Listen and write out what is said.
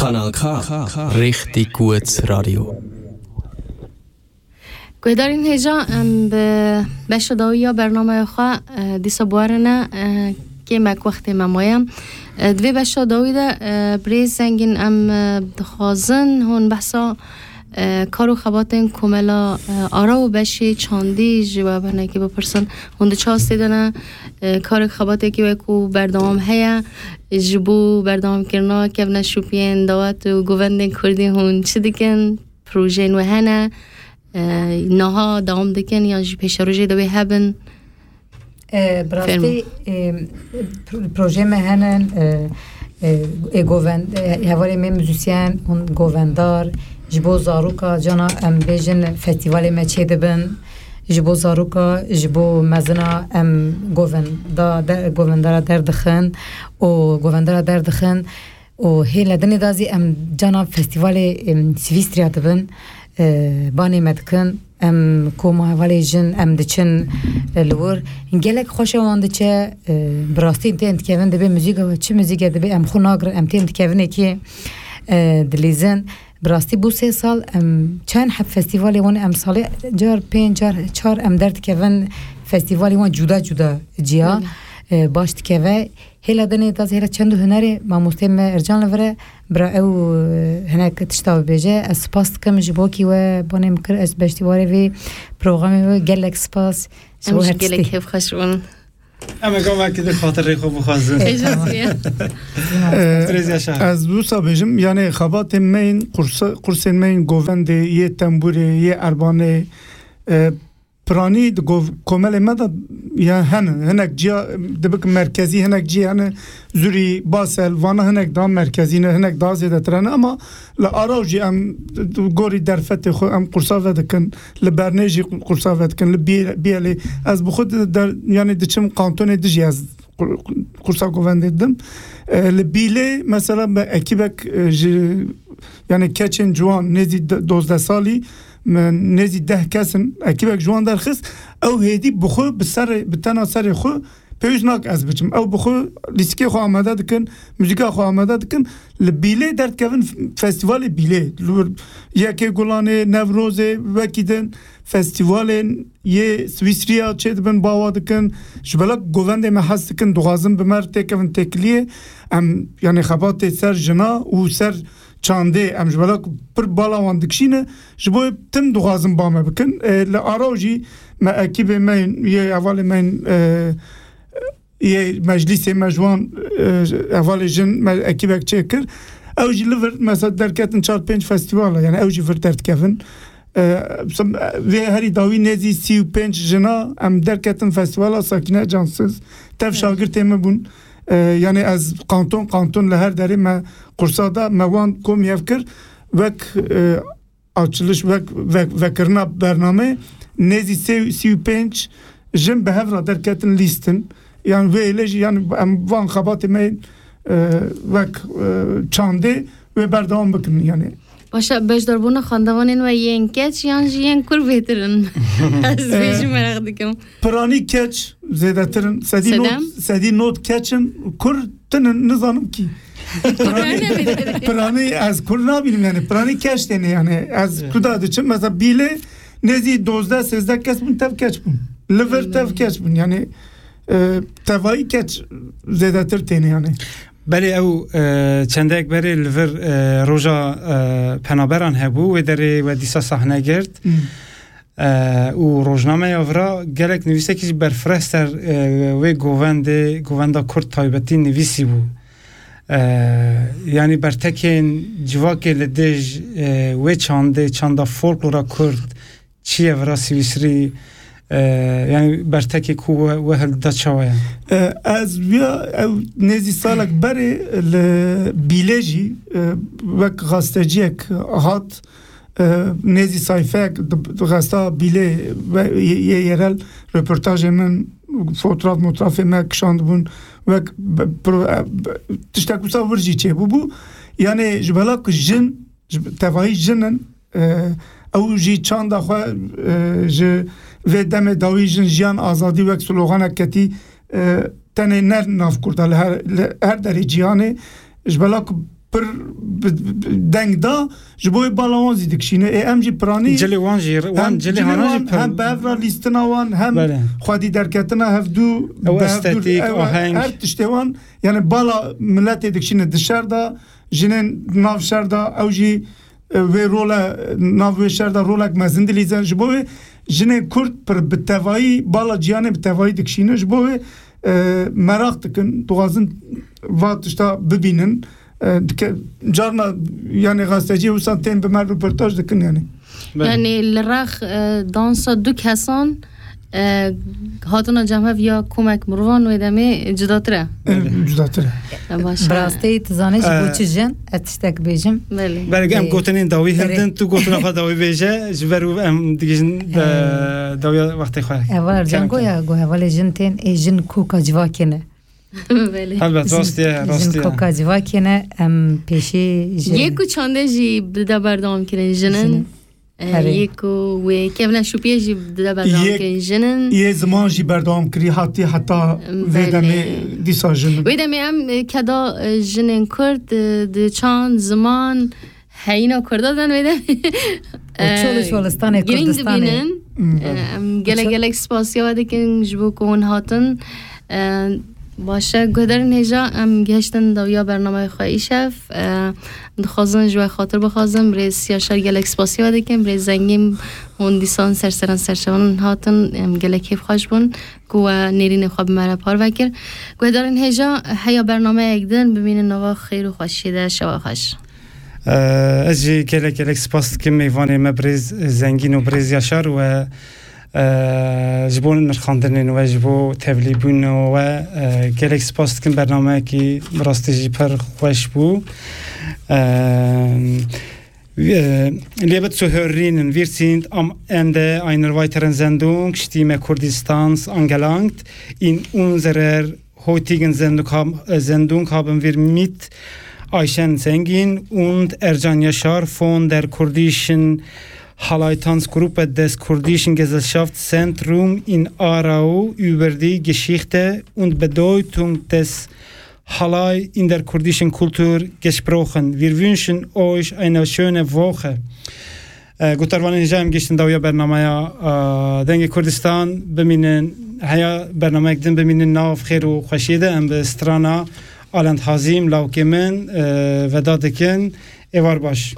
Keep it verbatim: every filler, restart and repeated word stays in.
Kanal K, Richtig gut Radio. Guhdarên hêja, em bi beşa dawî ya bernameya xwe, e, dîsa biwerine, e, kêmek wextê me maye. E, di vê beşa dawî de, e, birêz Zengîn, em, e, dixwazin hûn behsa, e, kar û xebatên komela, e, Ara û beşê çandî ji we binekî bipirsin. Hûn di çi astê de ne? E, karek xebatekî we ku berdewam heye, ji bo berdewamkirina kevneşopiyên dewlet û govendên kurdî hûn çi dikin? Projeyên we hene? E, niha dewam dikin yan jî pêşerojê de wê hebin? E, bi rastî, e, pro-, projeyê me hene, e, e, e, govend-, e, hevalê me muzîsyen û govendar, ji bo zaroka cana em bêjin festîvalê me çêdibin, ji bo zaroka, ji bo mezina em govenda de-, govendara derdixin û govendara derdixin. Û hê li dinê de zî em cana festîvalê, em, Swîstriya dibin, e, banê me dikin. Em koma hevalê jin em diçin, e, li wir. Gelek xweşe wan diçe, e, bi rastî tên dikevin dibê muzîka we çi muzîke dibê em xwe nagirin, em tên dikevinekê, e, dilîzin. Bi rastî bû sê sal em çend heb festîvalê wan em salê car pênc car çar em derdikevin festîvalê wan cuda cuda ciya, Belê. e, baş dikeve. Hêla dinê da zêre çend û hunerê mamostê me Ercan li vir e, bira ew, e, hinek tişta bibêje. Ez spas dikim ji bo kî we banê min kir, ez beştî warê vê programê we gelek spas. Ji Em bo jî her gelek tiştê. Hevxweş bûn. Em ê gavekî di xatirê xwe bixwazin. Êjaz bûye. Birêz Yaşar. Ez wisa bêjim, yani xebatên me yên, qursa-, qursên me yên govendê, yê tembûrê, yê erbanê, e, Piranî di gov-, komelê me de ya hene, hinek ciya, dibik merkezî, hinek cî hene, Zurî, Basel, vana hinek daha merkezî ne, hinek daha zêdetir hene, ama li Araw jî em gorî derfetê xwe em qursa vedikin, li Bernê jî qursa vedikin, li Bî-, Bîyelê. Ez bi xwe di-, der-, yani diçim kantonê dijî ez qur-, qursa govendê didim. E, li Bîlê mesela me ekîbek, e, ji, yani keçên ciwan nêzî de-, dozdeh salî, me nêzî deh kes in, ekîbek ji wan derxist, ew hêdî bi xwe, bi serê, bi tena serê xwe pêwîst nake ez biçim. Ew bi xwe lîstikê xwe amade dikin, muzîka xwe amade dikin. Li Bîlê derdikevin f-, festîvalê Bîlê. Li wir Yekê Gulanê, Newrozê, wekî din festîvalên yê Swîsriya çêdibin, bawa dikin. Ji belek govendê me hez dikin, dixwazin bi me re têkevin têkiliyê. Em, yani xebatê ser jina û ser çandê em ji belek pir bala wan dikişîne. Ji bo tim dixwazin ba me bikin. E, li Araw jî me ekîbê me yên, yê hevalê me yên, e, yê meclîsê me ji wan, e, hevalê jin me ekîbek çêkir. Ew jî li vir mesela derketin çar pênc festîvala, yani ew jî vir derdikevin. E, vê herî dawî nêzî sî û pênc jina em derketin festîvala Sakîne Cansiz. Tev Evet. şagirtê min bûn. E, yani ez kanton kanton li her derê me qursa da me wan kom yev kir. Wek, e, açiliş, wek, wek, vekirina bername nêzî sê, sî û pênc jin bi hev re derketin lîstin. Yani vê êlê jî yani em van xebatê me, e, wek, e, çandê wê berdewam bikin yani. Başa beşdarbûna xwendevanên we yên keç yan jî yên kur bêtir in? Ez vê jî Eh, meraq dikim. Piranî keç zêdetir in. Sedî not, Sedem? sedî not keç in. Kur tinin, nizanim kî. Piranî, piranî ez kur nabînim yani. Piranî keç têne yani. Ez Evet. kuda diçim. Mesela Bîlê nêzî dozdeh sêzdeh kes bûn, tev keç bûn. Li vir tev keç bûn. Yani, e, tevayî keç zêdetir têne yani. Belê ew, e, çendek berê li vir, e, roja, e, penaberan hebû, wê derê we dîsa sahne girt. Hmm. E, û rojnameya vira gelek nivîsekî jî berfireh ser, e, wê govendê, govenda Kurd taybetî nivîsî bû. E, yanî bertekên civakê li dij, e, wê çandê, çanda folklora Kurd, çi ye vira Swîsrî, e, yanî bertekê ku we, we hildida çawa ye? E, ez viya ew nêzî salek berê li Bîlê jî, e, wek gazteciyek hat, e, nêzî sayfeyek di, di gazeta Bîlê ve yê, yê yerel röportajê min, fotraf motrafê me kişandibûn, wek be-, pro-, e, be-, tiştek wisa wir jî çêbûbû. Yani ji bela ku jin, ji tevayî jin in, e, ew jî çanda xwe, e, ji vê demê dawî jin jiyan azadî wek sloganek ketî, e, tenê ne nav Kurda, li her, li her derê cîhanê, ji bela ku pir bi, bi, bi deng da, ji bo wê bala wan zî dikişîne. Ê, em jî piranî Cilê wan jî, wan hem cilê cilê hanan jî wan, pir hem bi hev re lîstina wan, hem Belê. Xwedî derketina hevdû, Ew bi hevdû, estetîk, ew, aheng. Her tiştê wan, yani bala miletê dikişîne di şer de, jinên nav şer de, ew jî, e, wê role, nav wê şer de rolek mezin dilîzin. Ji bo wê jinên Kurd pir bi tevayî, bala cîhanê bi tevayî dikişîne. Ji bo wê, e, meraq dikin, dixwazin va tişta bibînin. E, dike-, carna, yani, gazetecî wisa tên bi me röportaj dikin, yani. Belê. Yani, li rex, e, dansa du kesan, e, hatina cem hev ya komek mirovan wê demê cudatir e. E, Belê. Cudatir e. E, baş e. Bi rastî tu zanî ji bo E, çi jin? Ez tiştek bêjim. Belê. Belê, em Ê, gotinên dawî erê. Hildin, tu gotina xwe dawî bêje, ji ber û em digihîjin, e, Ê. Dawiya wextê xwe. Evar Kerem cengo kene. Ya, go hevalê jin tên, ê jin koka civakê ne. Belê. Helbet, Jin, rast e, jin rast e. Koka civakê ne, em pêşî jê Yê ku çandê jî dide berdewam kirin jinin. Jinin. E, Herê. Yê ku wê kevneşopiyê jî dide berdewam Yê, kirin jinin. Yê ziman jî berdewam kirî hatî heta vê Belê. Demê dîsa jinin. Vê demê em, e, keda, e, jinên Kurd, e, di çand, ziman, heyîna Kurda den wê demê. O çol û E, şolistanê girîng Kurdistanê. Dibînin. Hmm. E, em gelek Ço- gelek spasiya we dikin ji bo ku hûn hatin. E, baş e, guhdarên hêja, em gihiştin dawiya bernameya xwe îşev. E, dixwazin ji we xatir bixwazin. Birêz Yaşar, gelek spasiya we dikin. Birêz Zengîn, hûn dîsan ser seran serçevan hatin. Em gelek kêfxweş bûn ku we nêrînê xwe bi me re parve kir. Guhdarên hêja, heya bernameyek din bimînin nava xêr û xweşiyê de, şewa xweş. Eee, ez jî gelek gelek spas dikim mêvanê me birêz Zengîn û birêz Yaşar we, eee, ji bo nirxandinên we, ji bo tevlîbûna we, eee, gelek spas dikim. Bernameyekî bi rastî jî pir xweş bû. Eee, Äh, liebe Zuhörerinnen, wir sind am Ende einer weiteren Sendung Stimme Kurdistans angelangt. In unserer heutigen Sendung, hab- äh, Sendung haben wir mit Ayşen Zengin und Ercan Yaşar von der kurdischen Halai-Tanzgruppe des Kurdischen Gesellschaftszentrum in Aarau über die Geschichte und Bedeutung des Halai in der kurdischen Kultur gesprochen. Wir wünschen euch eine schöne Woche. Guhdarvanên hêja, em gihiştin dawiya bernameya, e, Dengê Kurdistan. Bimînin, heya bernameyek din, bimînin nav xêr û xweşiyê de. Em bi strana Alend Hazîm, lawkê min, e, veda dikin. Êvar baş.